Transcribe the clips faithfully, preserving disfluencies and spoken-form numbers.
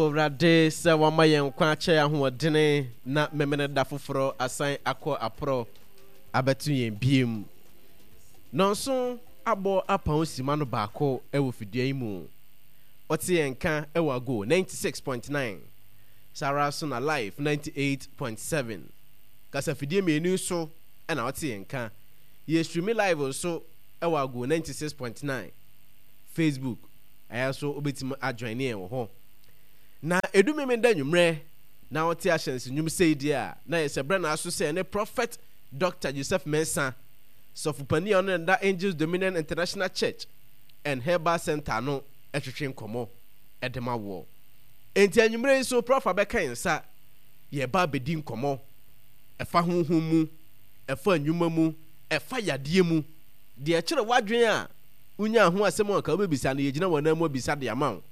Awurade sɛ wama yɛn nkwa akyɛ yɛn ahoɔdene na memene da foforɔ asan akɔ aporɔ abɛto yɛn biem. Nɔnso abɔ apɔn sima no baako wɔ fidua yi mu. Ɔte yɛn nka wɔ Ago ninety six point nine, saa ara nso na Life ninety eight point seven. Kasafidie mmienu yi so na ɔte yɛn nka. Yɛ streami live nso wɔ Ago ninety six point nine Facebook. Ɛyɛ nso wobɛtumi ajoine yɛn wɔ hɔ. Na ɛdu Memenda anwummerɛ na wote ahyɛnse nnwom sei deɛ a, na yɛ sɛ berɛ na aso sɛ yɛne Prophet Doctor Joseph Mensah, sɔfopanin a ɔno na ɛda Angels Dominion International Church and Herbal Center ano twetwe nkɔmmɔ de ma woɔ. Enti anwummerɛ yi nso Prof abɛka yɛn nsa, yɛreba abɛdi nkɔmmɔ ɛfa honhom mu, ɛfa nnwuma mu, ɛfa yadeɛ mu. Deɛ ɛkyere w'adwene a wonyaa ho asɛm a anka wobɛbisa no, yɛgyina w'anan mu abisa de ama wo.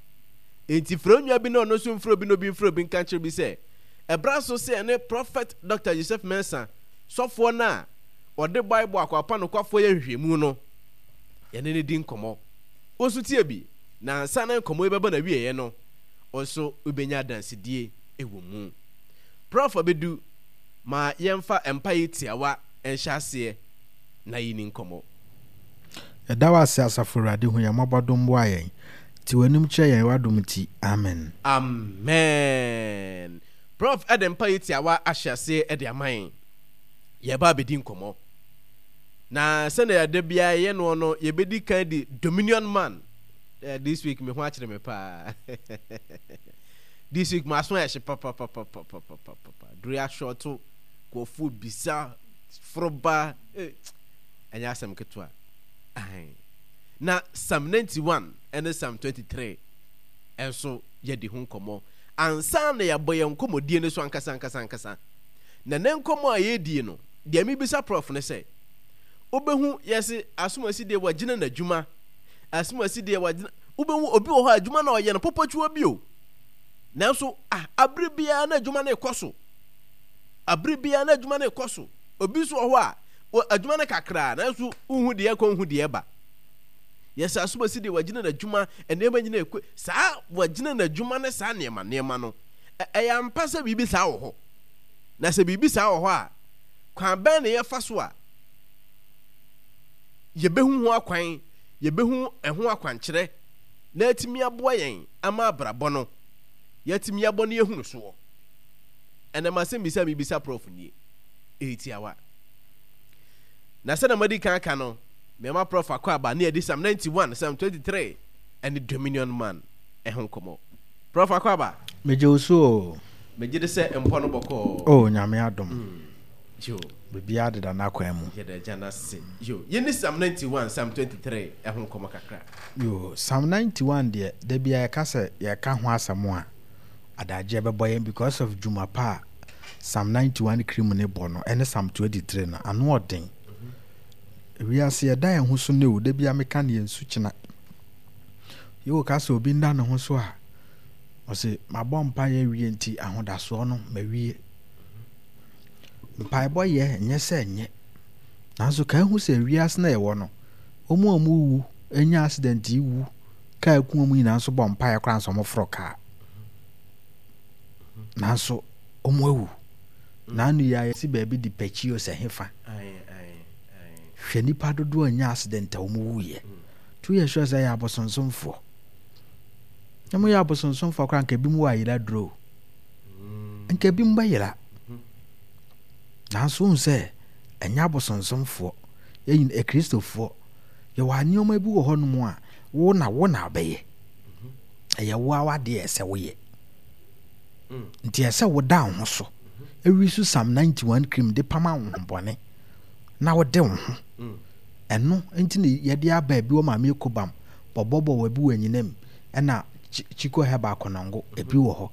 Enti frɛ wo nua bi na ɔno nso mfrɛ obi na obi mfrɛ obi nka nkyerɛ obi sɛ, ɛberɛ aso sɛ yɛne Prɔfɛt Dɔkta Joseph Mensah, sɔfoɔ no a ɔde Bible akwapa nokwafoɔ yɛ nhwehwɛmu no, yɛne no di nkɔmmɔ. Wo nso tie bi, na ansa na nkɔmmɔ yi bɛba n'awieeɛ no, wo nso wobɛnya adansedie wɔ mu. Prɔf abɛdu, ma yɛmfa mpaeɛ tiawa nhyɛ aseɛ na yɛnni nkɔmmɔ. Yɛda wo ase Asafo Awurade hu yɛn mmɔbɔ dom boa yɛn. Te w'anim kyerɛ yɛn w'adom nti. Amen. Amen. Prof de mpaeɛ tiawa ahyɛ aseɛ de ama yɛn. Yɛreba abɛdi nkɔmmɔ. Na sɛdeɛ da biara yɛyɛ noɔ no, yɛbɛdi kan di Dominion Man. Eh, this week me ho akyere me paa. This week maso ayɛ hye papapapapapapa. Duru ahyɔto, nkurɔfoɔ bisa, foroba, eh, ɛnyɛ asɛm ketewa. Ahe. Na Psalm ninety one ne Psalm twenty three nso yɛadi ho nkɔmmɔ ansa na yɛabɔ yɛn nkɔmmɔdie no so ankasa ankasa ankasa. Na ne nkɔmmɔ a yɛredie no, deɛ mebisa Prof ne sɛ, wobɛhu yɛse asomasi deɛ wagyina n'adwuma, asomasi deɛ wagyina, wobɛhu obi wɔ hɔ a adwuma na ɔyɛ no pɔpɔtwiwa bi o, nanso ah, abere biara na adwuma no rekɔ so, abere biara na adwuma no rekɔ so. Obi nso wɔ hɔ a, adwuma no kakraa, nanso wohu deɛ ɛkɔ, wohu deɛ ɛba. Yɛsɛ asomasi deɛ wagyina n'adwuma, nneɛma nyina ɛkɔ, saa wagyina n'adwuma ne saa nneɛma nneɛma no, ɛyɛ ampa sɛ biribi saa wɔ hɔ? Na sɛ biribi saa wɔ hɔ a, kwan bɛn na yɛfa so a yɛbɛhu ho akwan, yɛbɛhu ɛho akwankyerɛ na atumi aboa yɛn ama abrabɔ no, yɛatumi abɔ no yɛhunu soɔ? Ɛnɛ m'asɛmmisa a mebisa Prof nie, ɛyɛ tiawa. Na sɛdeɛ madi kan aka no, mema Prof akɔ aba ne yɛde Psalm ninety one, Psalm twenty three ɛne Dominion Man ɛho nkɔmmɔ. Prof akɔ aba. Megye wo so o. Megye di sɛ mpɔ no bɔkɔɔ. Oh, Nyame adom. Mm. Yo. Biribiara deda n'akwan mu. Yɛda Agya no ase. Yo. Yɛnni Psalm ninety one, Psalm twenty three ɛho nkɔmmɔ kakra. Yo, Psalm ninety one deɛ, da biara yɛka sɛ yɛka ho asɛm a, adagyeɛ bɛbɔ yɛn because of dwuma pa a Psalm ninety one cream ne bɔ no ɛne Psalm twenty three no ano ɔden. Wiase yɛda yɛn ho so ne o, da biara meka ne yɛn sukyena. Yɛwɔ ka sɛ obi nda ne ho so a, ɔse mabɔ mpaeɛ awie nti ahodasoɔ no mawie. Mpaebɔ yɛ nyɛ sɛ nyɛ. Nanso ka ehu sɛ wiase na yɛwɔ no, wɔn a wɔwu nya accident yi wu kaa ku wɔn nyinaa nso bɔ mpaeɛ koraa nso wɔforo kaa. Nanso wɔn awu. N'ano yi a yɛsi baabi de pɛkyi o sɛ hefa. Hwɛ nipa dodoɔ a nya accident a wɔn wuiɛ. Tu yɛ sure sɛ yɛ abosonsomfoɔ. Na mo yɛ abosonsomfoɔ koraa nka ebi mu wɔ ayera duro. Nka ebi mu bɛyera. Nanso wohu sɛ ɛnyɛ abosonsomfoɔ. Yɛn akristofoɔ yɛwɔ nneɛma bi wɔ hɔnom a wo na wo na wobɛyɛ. Ɛyɛ wo ara w'adeɛ a ɛsɛ woyɛ. Nti ɛsɛ woda wo ho so. Ewi so Psalm ninety one cream de pam ahonhommɔne na wode wo ho. Ɛno nti na yɛde aba ebi wɔ Maame Ekobam, bɔbɔbɔ wɔ ebi wɔ Anyinam, ɛna Chiko Herbal Konongo, ebi wɔ hɔ.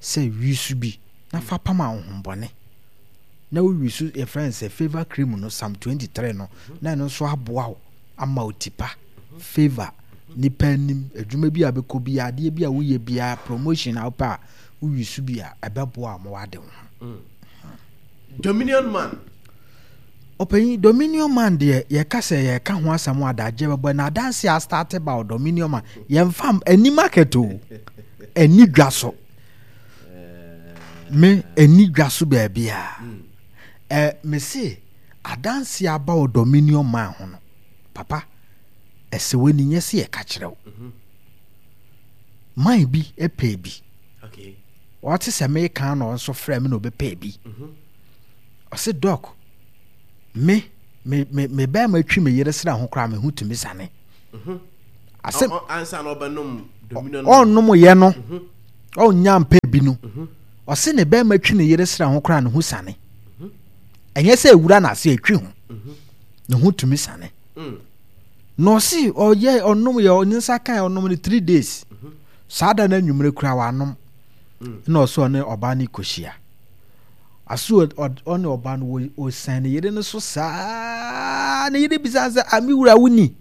Sɛ wi so bi na fa pam ahonhommɔne. Na wo wi so yɛfrɛ no sɛ favour cream no, Psalm twenty three no, na ɛno nso aboa wo ama wo ti pa, favour, nipa anim, adwuma bi a bɛkɔ bi, adeɛ bi a woyɛ biara, promotion a wopɛ a woyi so bi a ɛbɛboa ma wade wo ho. Dominion Man. Ɔpanyin, Dominion Man deɛ yɛka sɛ yɛka ho asɛm a adagyeɛ bɛbɔ na adanse a starte ba wɔ Dominion Man yɛmfa ani market o, ani dwa so. Me ɛni dwa so baabi a ɛ me se adanse aba wɔ Dominion Man ho no, papa, ɛsɛ w'ani nyɛ sɛ yɛka kyerɛ wo. Man bi pɛɛ bi. Ɔte sɛ meka na ɔnso frɛ me na ɔbɛpɛɛ bi. Ɔse, "Doc, me me me me bɛrima twi me yere sra ho koraa, me ho tumi sane." Asɛm ɔnnom yɛ no, ɔnya mpɛ bi no, ɔse ne bɛrima twi ne yere sra ho koraa, ne ho sane. Ɛnyɛ sɛ ewura n'ase, etwi ho, ne ho tumi sane. Na ɔse ɔyɛ ɔnom yɛ ɔne nsa kan ɔnom no three days, saa da no anwummerɛ koraa wanom. Na ɔsɛ ɔne ɔbaa no kɔhyia aso, ɔne ɔbaa no ɔsan ne yere no so saa. Ne yere bisa sɛ, "Ame wura, wo ni?"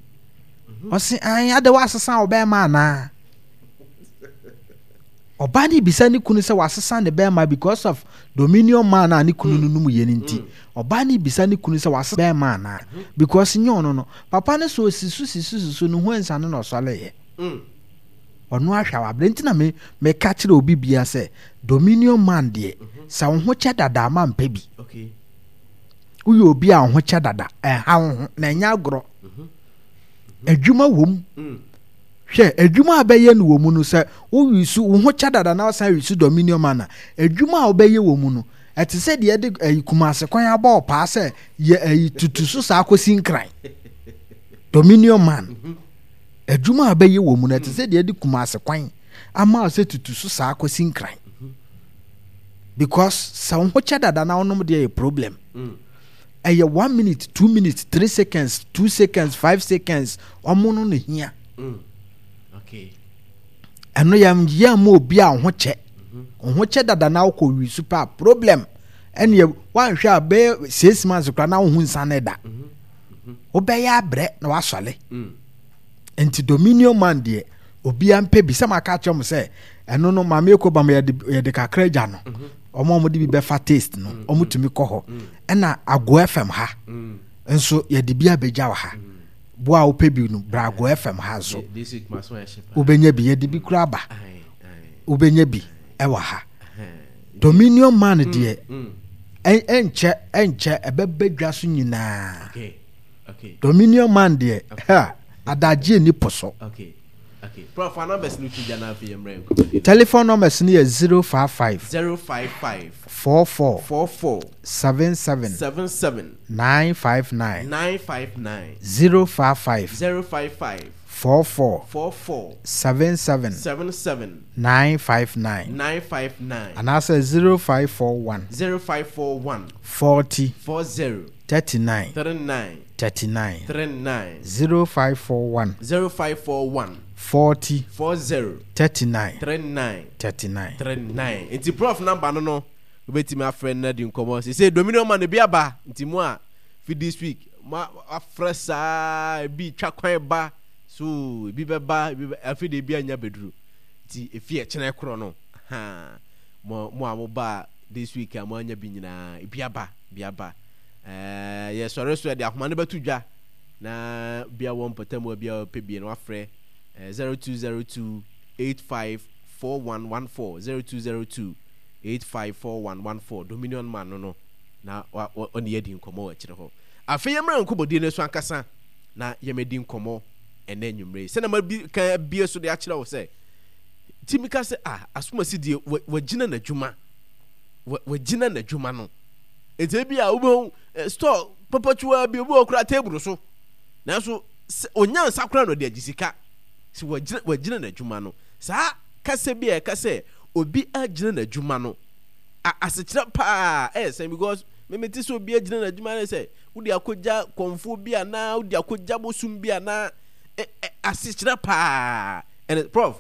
Ɔse, "An ade wasesa wo bɛrima anaa?" Ɔbaa no bisa ne kunu sɛ wasesa ne bɛrima because of Dominion Man a ne kunu no nom yɛ no nti. Ɔbaa no bisa ne kunu sɛ wasesa bɛrima anaa, because nyɛ ɔno no papa no so osi so si so si so ne ho ansane na ɔsɔleyɛ. Ɔno ahwɛ a wabrɛ. Nti na me meka kyerɛ obi bia sɛ Dominion Man deɛ, sɛ wo ho kyɛ dada ama mpɛ bi. Woyɛ obi a wo ho kyɛ dada, ɛha wo ho na ɛnyɛ agorɔ. Adwuma wɔ mu. Hwɛ adwuma a bɛyɛ no wɔ mu no, sɛ woyi so wo ho kyɛ dada na wosan yi so Dominion Man a, adwuma a wobɛyɛ wɔ mu no, ɛte sɛ deɛ ɛde ɛyi Kumase kwan abɔ ɔpaa sɛ yɛ ɛyi tutu so saa kɔsi Nkran. Dominion Man, adwuma a bɛyɛ wɔ mu no, ɛte sɛ deɛ ɛde Kumase kwan ama sɛ tutu so saa kɔsi Nkran, because sɛ wo ho kyɛ dada na wonom deɛ, yɛ problem. Ɛyɛ one minute, two minutes, three seconds, two seconds, five seconds, ɔmo no na hia. Ɛno yɛ yɛ ma obi a wo ho kyɛ wo ho kyɛ dada na wokɔ wi so paa problem. Ɛneɛ woanhwɛ a, bɛyɛ six months koraa na wo ho nsane da, wobɛyɛ abrɛ na wasɔle. Nti Dominion Man deɛ, obiara mpɛ bi. Sɛ maka kyerɛ mo sɛ ɛno no, Maame Eko Bam, yɛde yɛde kakra gya no. Ɔmo a ɔmo de bi bɛfa taste no, ɔmo tumi kɔ hɔ. Ɛna Ago F M ha nso, yɛde bi abɛgya wɔ ha. Bo a wopɛ bi no, bra Ago F M ha nso, wobɛnya bi. Yɛde bi kura aba, wobɛnya bi ɛwɔ ha. Dominion Man deɛ, ɛnkyɛ ɛnkyɛ ɛbɛbɛ dwa so nyinaa. Dominion Man deɛ, ha adagye ni po so. Telephone numbers no yɛ zero five five zero five five four four four four seven seven seven seven nine five nine. nine five nine. zero five five zero five five four four four four seven seven seven seven nine five nine. nine five nine. Anaasɛ zero five four one zero five four one forty four zero thirty-nine three nine thirty-nine. three nine. zero five four one zero five four one forty four zero thirty-nine three nine thirty-nine. three nine. Nti Prof number no no wobɛtumi afrɛ no na di nkɔmmɔ. Sɛ Dominion Man bi aba nti mu a, fi this week ma afrɛ saa, ebi twa kwan ba so, ebi bɛba, ebi bɛ afei de ebi anya bɛduru. Nti efi ɛkyerɛ korɔ no ha, mo mo a mo ba this week a mo anya bi nyinaa, ebi aba, ebi aba. ɛɛ yɛsɔre so, yɛde ahoma no bɛto dwa na bia wɔ mpɔtam a bia ɔpɛ bi no, wafrɛ ɛɛ zero two zero two eight five four one one four, zero two zero two eight five four one one four. Dominion Man no no na wa ɔne yɛdi nkɔmmɔ wɔ akyire hɔ. Afei yɛmmra nkɔmmɔdie no so ankasa na yɛmɛdi nkɔmmɔ ɛnɛ nwummerɛ yi. Sɛnɛ ma bi kan abie so de akyerɛ wo sɛ timi ka sɛ ah, asomasi deɛ, wagyina n'adwuma, wagyina n'adwuma no. Nti ebi a wobɛhu store papatuwa bi, obi wɔ kora table so, nanso onya nsa kora na ɔde agye sika sɛ wagyina wagyina n'adwuma no. Saa kasa bi a ɛka sɛ obi agyina n'adwuma no, asekyerɛ paa ɛyɛ sɛn? Because mímí ti sɛ obi agyina n'adwuma no, sɛ wode akɔgya kɔnfoɔ bi anaa wode akɔgya bosom bi anaa, asekyerɛ paa ɛnɛ, Prof,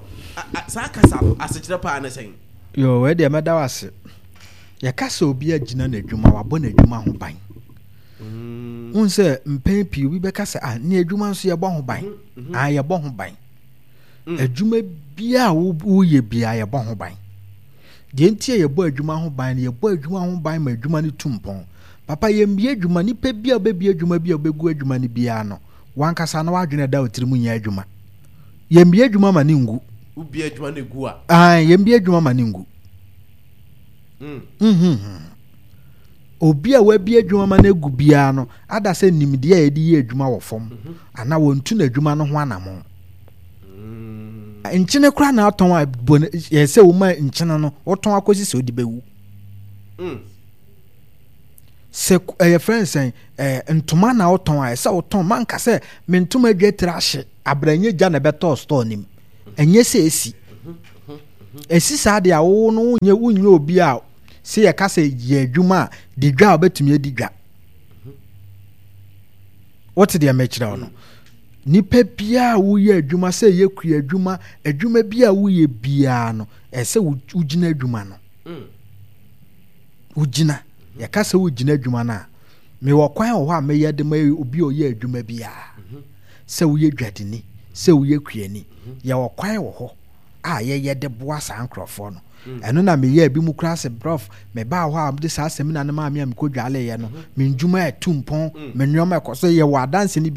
saa kasa no asekyerɛ paa ne sɛn? Yo, wei deɛ mɛda wo ase. Yɛka sɛ obi agyina n'adwuma, wabɔ n'adwuma ho ban. Mm. Wohu sɛ mpɛn pii obi bɛka sɛ, ah, ne adwuma nso yɛbɔ ho ban. Mm -hmm. Ah, yɛbɔ ho ban. Mm. Adwuma biara a woyɛ biara, yɛbɔ ho ban. Deɛ nti a yɛbɔ adwuma ho ban no, yɛbɔ adwuma ho ban ma adwuma no tu mpɔn. Papa, yɛmbie adwuma, nipa bi a wobɛbie adwuma bi a wobɛgu adwuma no biara no, wankasa na wadwene ɛda wo tirim nyɛ adwuma. Yɛmbie adwuma ma ne ngu. Wobie adwuma no gu a? Ah, yɛmbie adwuma ma ne ngu. Mm. Mhm. Obi a wabie adwuma ma no agu biara no, ada sɛ nimdeɛ a yɛde yɛ adwuma wɔ fam, anaa wɔntu n'adwuma no ho anammɔn. Mm. Nkyene koraa na atɔn a bɔ no, yɛ sɛ woma nkyene no wotɔn akɔsi sɛ wode bɛwu. Mm. Sɛ ɛyɛ frɛ nsɛn ɛɛ ntoma na wotɔn a, ɛsɛ wotɔn manka sɛ me ntoma adwa tiri ahye abranyɛ gya na ɛbɛtɔɔ store nim. Ɛnyɛ sɛ esi. Esi saa deɛ a wo no wonyɛ wonyɛ obi a sɛ yɛka sɛ yɛ adwuma a di dwa a wobɛtumi adi dwa. Wote deɛ mekyerɛ wo no? Nipa biara a woyɛ adwuma sɛ ɛyɛ kua adwuma, adwuma bi a woyɛ biara no, ɛsɛ wogyina adwuma no. Wogyina. Yɛka sɛ wogyina adwuma no a, mewɔ kwan wɔ hɔ a meyɛ de ma obi a ɔyɛ adwuma biara. Sɛ woyɛ dwadini, sɛ woyɛ kuani, yɛwɔ kwan wɔ hɔ a yɛyɛ de boa saa nkurɔfoɔ no. Ɛno na meyɛɛ bi mu koraa sɛ brɔf mebaa hɔ a mede saa seminar no maa me a mekɔdwaleeɛ no, me ndwuma ɛtu mpɔn, me nneɛma ɛkɔ so, yɛwɔ adanse no bi.